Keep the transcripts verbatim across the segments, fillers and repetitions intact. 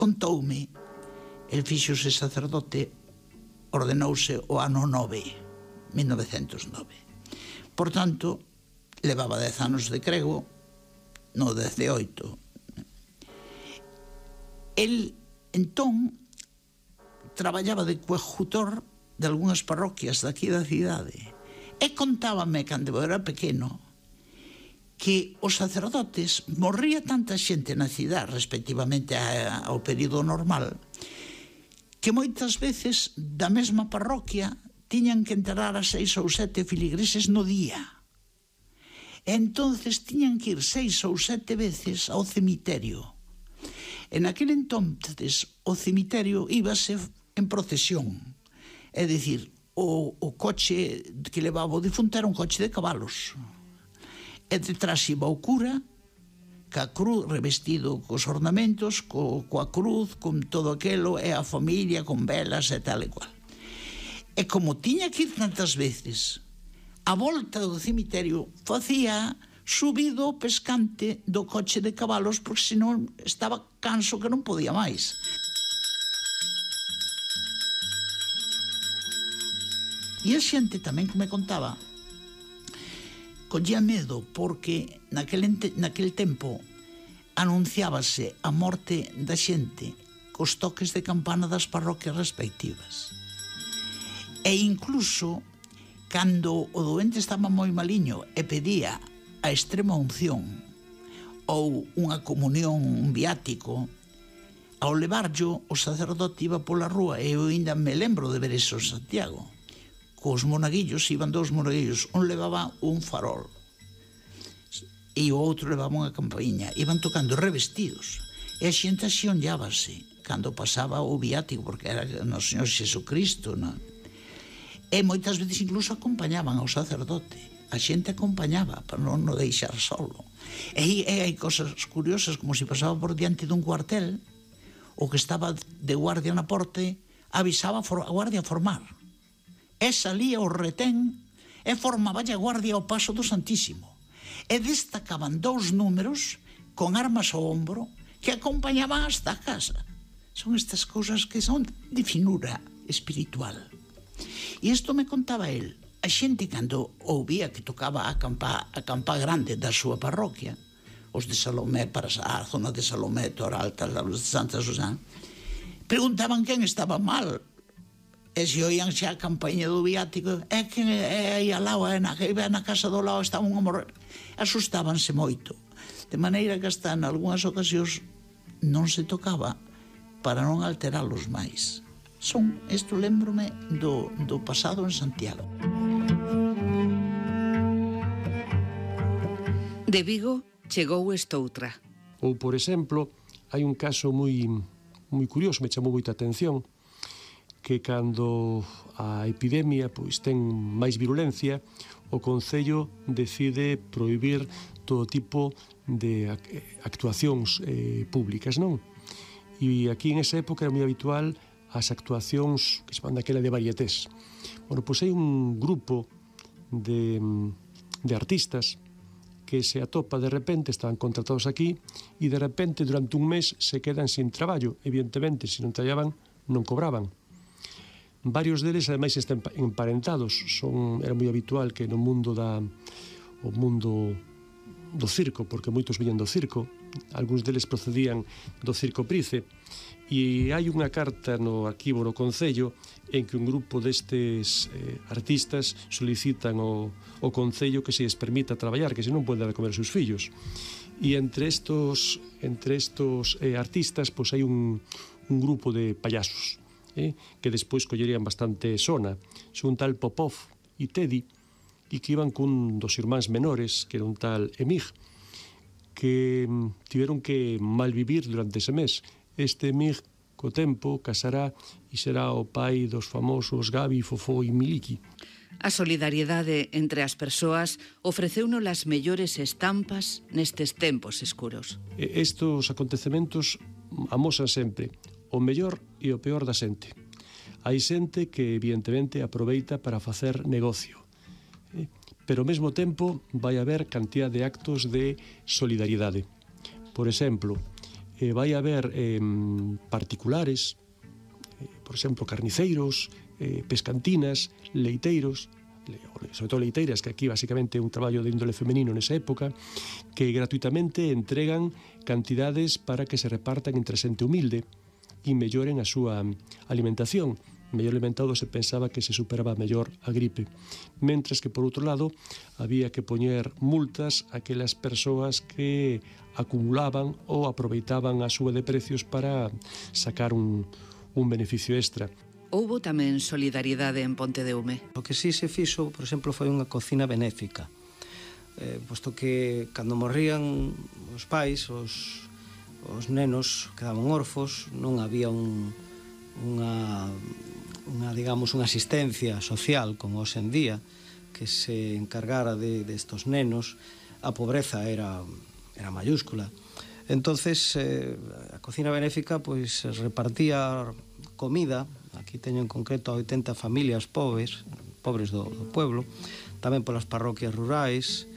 contoume, el fíxose sacerdote, ordenouse o ano nove, mil novecentos nove. Por tanto, levaba dez anos de crego, no dezaoito. El, entón, traballaba de coadjutor de algunhas parroquias daqui da cidade. E contábame, cando eu era pequeno, que os sacerdotes morría tanta xente na cidade respectivamente ao período normal que moitas veces da mesma parroquia tiñan que enterrar a seis ou sete filigreses no día. E entonces tiñan que ir seis ou sete veces ao cemiterio. En aquel entonces o cemiterio íbase en procesión, é dicir, o, o coche que levaba o difunto era un coche de cabalos. E detrás iba o cura, ca cruz, revestido cos ornamentos, co, coa cruz, con todo aquelo, e a familia, con velas e tal e cual. E como tiña que ir tantas veces, a volta do cemiterio facía subido o pescante do coche de cabalos, porque senón estaba canso que non podía máis. E a xente tamén que me contaba collía medo porque naquel, naquel tempo anunciábase a morte da xente cos toques de campana das parroquias respectivas. E incluso, cando o doente estaba moi maliño e pedía a extrema unción ou unha comunión, un viático, ao levarllo, o sacerdote iba pola rúa, e eu ainda me lembro de ver eso en Santiago. Cos monaguillos, iban dous monaguillos, un levaba un farol e o outro levaba unha campainha, iban tocando revestidos, e a xente así onllábase cando pasaba o viático, porque era no Señor Xesucristo, non? E moitas veces incluso acompañaban ao sacerdote, a xente acompañaba para non o deixar solo. E, e hai cosas curiosas, como se pasaba por diante dun cuartel, o que estaba de guardia na porte avisaba a guardia a formar, e salía o retén e formaba a guardia ao paso do Santísimo. E destacaban dous números con armas ao ombro que acompañaban hasta a casa. Son estas cousas que son de finura espiritual. E isto me contaba el. A xente, cando ouvía que tocaba a campa, a campa grande da súa parroquia, os de Salomé, para a zona de Salomé, Toralta, os de Santa Susana, preguntaban quen estaba mal. E se oían xa a campaña do viático, é que é aí al lado, é na, na casa do lado, estaban a morrer. Asustábanse moito. De maneira que hasta en algunhas ocasións non se tocaba para non alteralos máis. Son, isto lembrome do, do pasado en Santiago. De Vigo chegou estoutra. Ou, por exemplo, hai un caso moi, moi curioso, me chamou moita atención, que cando a epidemia pois ten máis virulencia, o Concello decide prohibir todo tipo de actuacións eh, públicas, non? E aquí en esa época era moi habitual as actuacións que se van daquela de varietés. Bueno, pois hai un grupo de, de artistas que se atopa de repente, estaban contratados aquí, e de repente durante un mes se quedan sin traballo. Evidentemente, se non traballaban, non cobraban. Varios deles, ademais, están emparentados. Son, era moi habitual que no mundo da o mundo do circo, porque moitos viñan do circo, algúns deles procedían do Circo Price, e hai unha carta no arquivo no Concello en que un grupo destes eh, artistas solicitan ao, ao Concello que se les permita traballar, que senón poden dar a comer os seus fillos. E entre estos, entre estos eh, artistas, pois hai un, un grupo de payasos, Eh, que despois collerían bastante sona. Son un tal Popov e Teddy, e que iban cun dos irmáns menores, que era un tal Emig, que tiveron que malvivir durante ese mes. Este Emig, co tempo, casará e será o pai dos famosos Gabi, Fofó e Miliki. A solidariedade entre as persoas ofreceunos as mellores estampas nestes tempos escuros. Estos acontecementos amosan sempre o mellor e o peor da xente. Hai xente que, evidentemente, aproveita para facer negocio. Pero, ao mesmo tempo, vai haber cantidad de actos de solidariedade. Por exemplo, eh, vai haber eh, particulares, eh, por exemplo, carniceiros, eh, pescantinas, leiteiros, sobre todo leiteiras, que aquí basicamente é un traballo de índole femenino nesa época, que gratuitamente entregan cantidades para que se repartan entre xente humilde e melloren a súa alimentación. Mellor alimentado se pensaba que se superaba mellor a gripe. Mentres que, por outro lado, había que poñer multas a aquelas persoas que acumulaban ou aproveitaban a súa de precios para sacar un, un beneficio extra. Houbo tamén solidariedade en Pontedeume. O que sí se fixo, por exemplo, foi unha cocina benéfica. Eh, posto que cando morrían os pais, os, os nenos quedaban orfos, non había un, unha, unha, digamos, unha asistencia social como hoxe en día que se encargara de, de estos nenos. A pobreza era, era mayúscula. Entonces, eh, a cocina benéfica pois repartía comida. Aquí teño en concreto a oitenta familias pobres, pobres do, do pueblo, tamén polas parroquias rurais,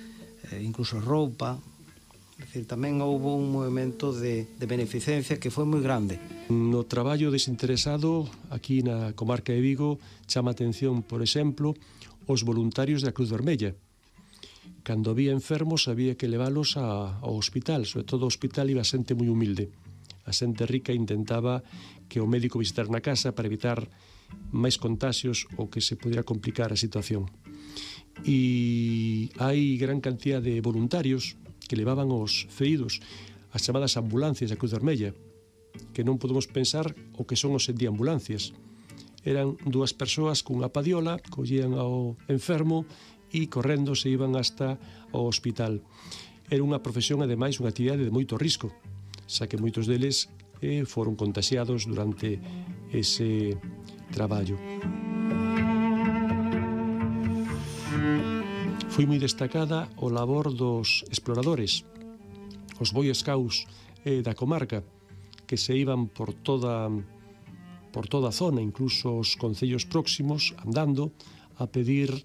eh, incluso roupa. É dicir, tamén houve un movimento de, de beneficencia que foi moi grande. No traballo desinteresado, aquí na comarca de Vigo, chama atención, por exemplo, os voluntarios da Cruz Vermella. Cando había enfermos, había que leválos a, ao hospital, sobre todo ao hospital iba xente moi humilde. A xente rica intentaba que o médico visitara na casa para evitar máis contaxios ou que se pudiera complicar a situación. E hai gran cantidad de voluntarios que levaban os feridos, as chamadas ambulancias da Cruz Vermella, que non podemos pensar o que son os en día ambulancias. Eran dúas persoas cunha padiola, collían ao enfermo e correndo se iban hasta o hospital. Era unha profesión, ademais, unha actividade de moito risco, xa que moitos deles eh, foron contaxiados durante ese traballo. Foi moi destacada o labor dos exploradores, os Boy Scouts eh, da comarca, que se iban por toda, por toda a zona, incluso os concellos próximos, andando, a pedir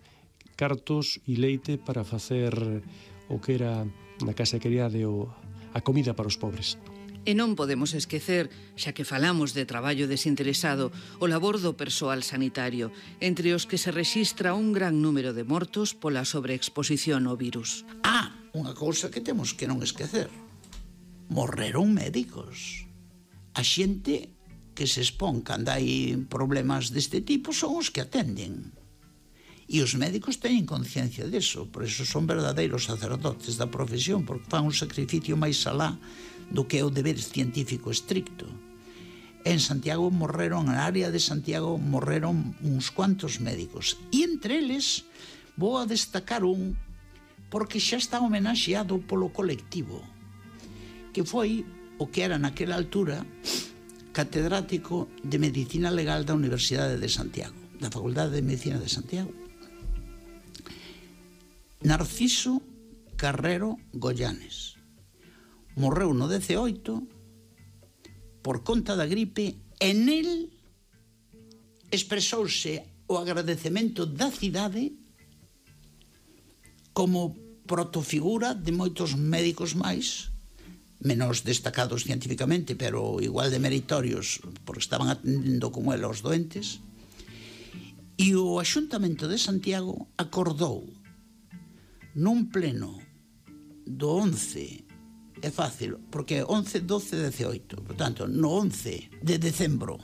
cartos e leite para facer o que era na casa de criade o a comida para os pobres. E non podemos esquecer, xa que falamos de traballo desinteresado, o labor do persoal sanitario, entre os que se rexistra un gran número de mortos pola sobreexposición ao virus. Ah, unha cousa que temos que non esquecer. Morreron médicos. A xente que se expón cando hai problemas deste tipo son os que atenden. E os médicos teñen conciencia deso, por eso son verdadeiros sacerdotes da profesión, porque fan un sacrificio máis alá do que é o deber científico estricto. En Santiago morreron, na área de Santiago morreron uns cuantos médicos, e entre eles vou a destacar un porque xa está homenaxeado polo colectivo, que foi o que era naquela altura catedrático de Medicina Legal da Universidade de Santiago, da Facultade de Medicina de Santiago. Narciso Carrero Goyanes. Morreu no dezaoito por conta da gripe e nel expresouse o agradecemento da cidade como protofigura de moitos médicos máis, menos destacados científicamente, pero igual de meritorios, porque estaban atendendo como el aos doentes. E o Axuntamento de Santiago acordou nun pleno do once, é fácil, porque once, doce, dezaoito, por tanto, no once de decembro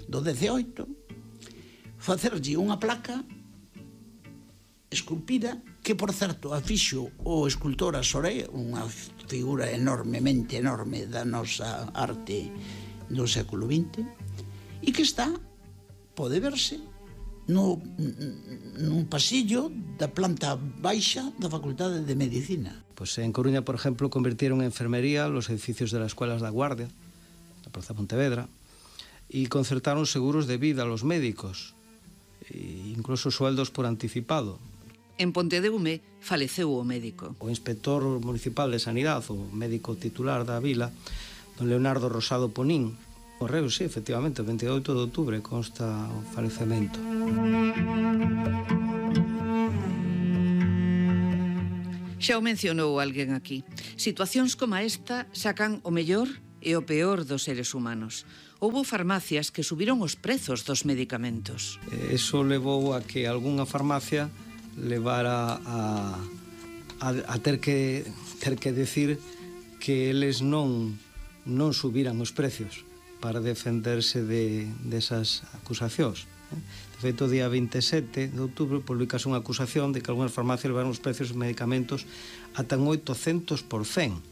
do dezaoito, facerlle unha placa esculpida, que, por certo, a fixo o escultor Asoré, unha figura enormemente enorme da nosa arte do século vinte, e que está, pode verse, no, nun pasillo da planta baixa da Facultade de Medicina. Pues en Coruña, por ejemplo, convirtieron en enfermería los edificios de las escuelas da Guardia, la Plaza Pontevedra, y concertaron seguros de vida a los médicos, e incluso sueldos por anticipado. En Pontedeume faleceu o médico. O inspector municipal de Sanidade, o médico titular da vila, don Leonardo Rosado Ponín, morreu, sí, efectivamente, o veintioito de outubro consta o falecemento. Xa o mencionou alguén aquí. Situacións como esta sacan o mellor e o peor dos seres humanos. Houbo farmacias que subiron os prezos dos medicamentos. Eso levou a que algunha farmacia levara a, a, a ter que ter que decir que eles non non subiran os precios para defenderse de desas acusacións. De feito, o día veintesete de outubro publicase unha acusación de que algunhas farmacias levaron os precios dos medicamentos ata un oitocentos por cento.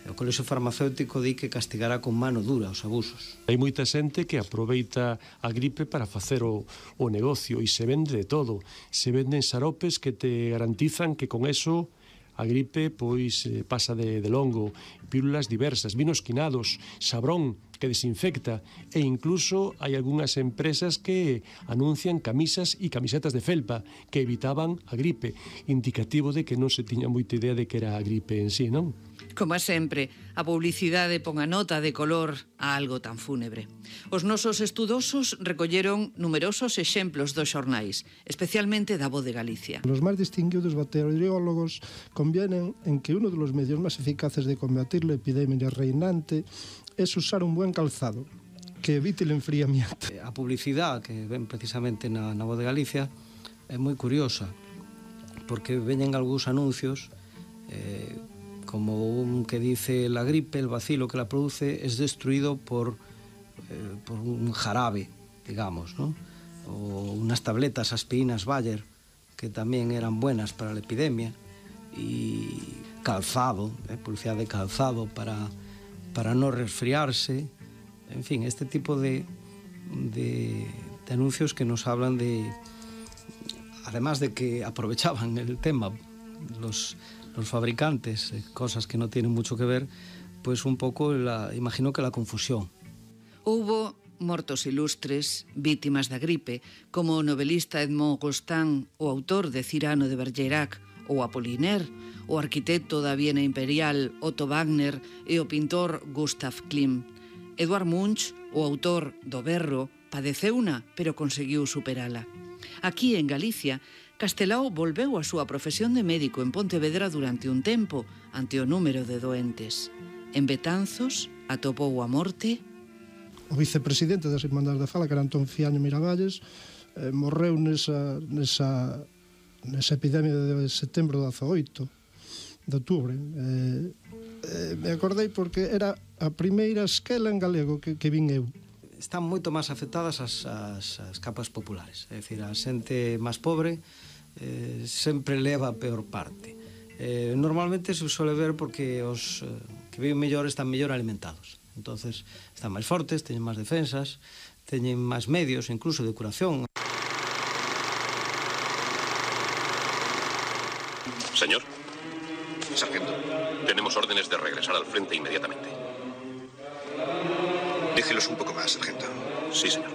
O Colexio Farmacéutico di que castigará con mano dura os abusos. Hai moita xente que aproveita a gripe para facer o, o negocio e se vende de todo. Se venden xaropes que te garantizan que con eso a gripe pois pasa de, de longo, pílulas diversas, vinos quinados, sabrón que desinfecta e incluso hai algunhas empresas que anuncian camisas e camisetas de felpa que evitaban a gripe, indicativo de que non se tiña moita idea de que era a gripe en sí, non? Como sempre, a publicidade pon a nota de color a algo tan fúnebre. Os nosos estudosos recolleron numerosos exemplos dos xornais, especialmente da Voz de Galicia. Los máis distinguidos bacteriólogos convienen en que uno de los medios máis eficaces de combatir la epidemia reinante es usar un buen calzado, que evite el enfriamiento. A publicidade que ven precisamente na, na Voz de Galicia é moi curiosa, porque veñen algúns anuncios eh, como un que dice la gripe, el bacilo que la produce es destruido por, eh, por un jarabe, digamos, ¿no? O unas tabletas, aspirinas Bayer, que tamén eran buenas para la epidemia, y calzado, eh, publicidad de calzado para, para no resfriarse, en fin, este tipo de, de, de anuncios que nos hablan de, además de que aprovechaban el tema, los los fabricantes, cosas que no tienen mucho que ver, pues un poco, la, imagino que la confusión. Houbo mortos ilustres, vítimas da gripe, como o novelista Edmond Rostand, o autor de Cyrano de Bergerac, ou Apollinaire, o arquitecto da Viena Imperial Otto Wagner e o pintor Gustav Klimt. Eduard Munch, o autor do Berro, padeceuna, pero conseguiu superala. Aquí, en Galicia, Castelao volveu a súa profesión de médico en Pontevedra durante un tempo, ante o número de doentes. En Betanzos atopou a morte. O vicepresidente das Irmandades da Fala, que era Antón Fiaño Miravalles, eh, morreu nesa, nesa, nesa epidemia de setembro de dezaoito, de outubro. Eh, eh, me acordei porque era a primeira esquela en galego que, que vin eu. Están moito máis afectadas as, as, as capas populares, é dicir, a xente máis pobre eh, sempre leva a peor parte. Eh, normalmente se suele ver porque os eh, que viven mellor están mellor alimentados, entonces están máis fortes, teñen máis defensas, teñen máis medios, incluso de curación. Señor, sargento, tenemos órdenes de regresar al frente inmediatamente. Déjelos un poco más, sargento. Sí, señor.